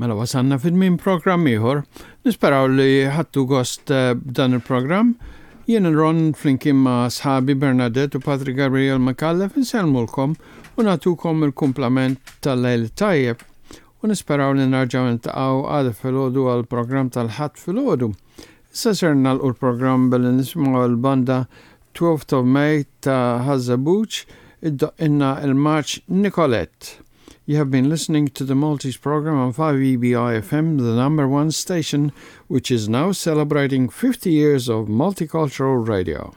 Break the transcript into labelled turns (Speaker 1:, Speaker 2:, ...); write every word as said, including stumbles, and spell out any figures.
Speaker 1: Mela wasalna fit-tmiem programm ieħor. Nisperaw li ħadtu gost eh, b'dan il-programm. Jien Ron flimkien ma' sħabi Bernadette u Patrick Gabriel Micallef insellmulkom u nagħtukom il-kumplament tal-lejl tajjeb u nisperaw li nerġgħu niltaqgħu għada filgħodu għal-programm tal-Ħadd filgħodu. Issa ser nagħlqu l-programm billi nisimgħu l-banda twelfth of May ta' Ħaż-Żebbuġ iddoqqilna il-marċ Nicolette. You have been listening to the Maltese program on five E B I F M, the number one station, which is now celebrating fifty years of multicultural radio.